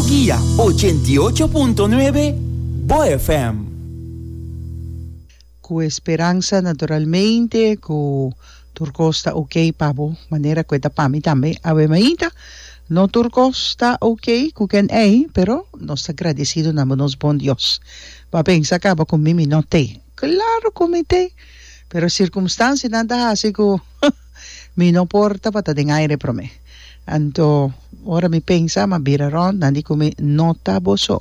Bo Guia 88.9 Bo FM. Ku e speransa naturalmente ku tur kos ta ok pa bo manera ku e ta pa mi tambe awe mainta. No tur kos ta ok ku ken ei pero nos ta gradesido na bo nos bon Dios. Bo a pensa kaba ku mi mi no t'ei. Klaro ku mi t'ei pero sirkumstansianan ta hasi ku Mi no por tabata den aire promé. Anto, ora mi pensa, m'a bira rònt, nan di ku mi, No ta bo so.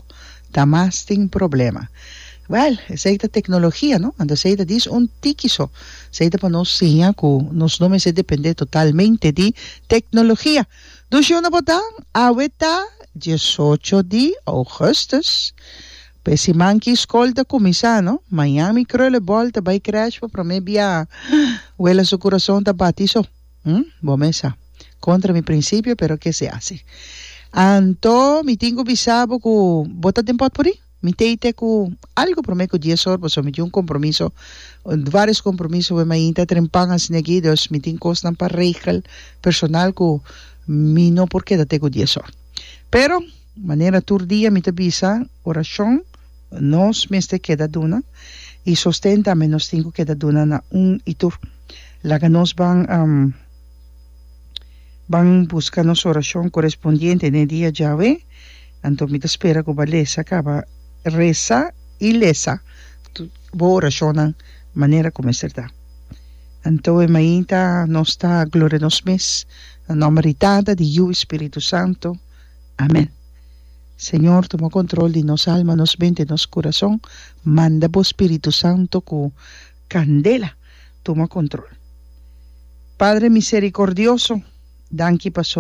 Ta mas tin problema. Wèl, esei ta teknologia, no? Anto esei ta dis un tiki so. Esei ta pa nos siña ku nos no mester dependé totalmente di teknologia. Dushi unda bo ta? Awe ta diesocho di ougùstùs. P'e siman ki skol ta kuminsá, no? Mañan mi krulebòl ta bai krèsh pa promé biaha. Wela su kurason ta bati so. Hm, bo mes sa. Kontra mi prinsipio, pero ke se hasi. Anto mi tin ku bisa bo ku bo ta den pòtpurrí. Mi tei te ku algu promé ku dies or, pasobra mi tin un kompromiso, vários kompromiso wei mainta trempan asina aki, dus mi tin kosnan pa regel personal ku mi no por keda te ku dies or. Pero. Manera tur dia mi ta bisa, orashon nos mester keda duna i sosten tambe nos tin ku keda duna na un i tur. Laga nos ban ban buska nos orashon korespondiente den e dia djawe, anto mi ta spera ku bo a lesa kaba resa i lesa bo orashonnan manera ku mester ta. Anto e mainta nos ta gloria nos mes na nòmber di Tata, di Yu i Spiritu Santu. Amen. Señor tuma control di nos alma, nos mente, nos curason, manda bo Spiritu Santo cu candela tuma control. Padre misericordioso, danki paso.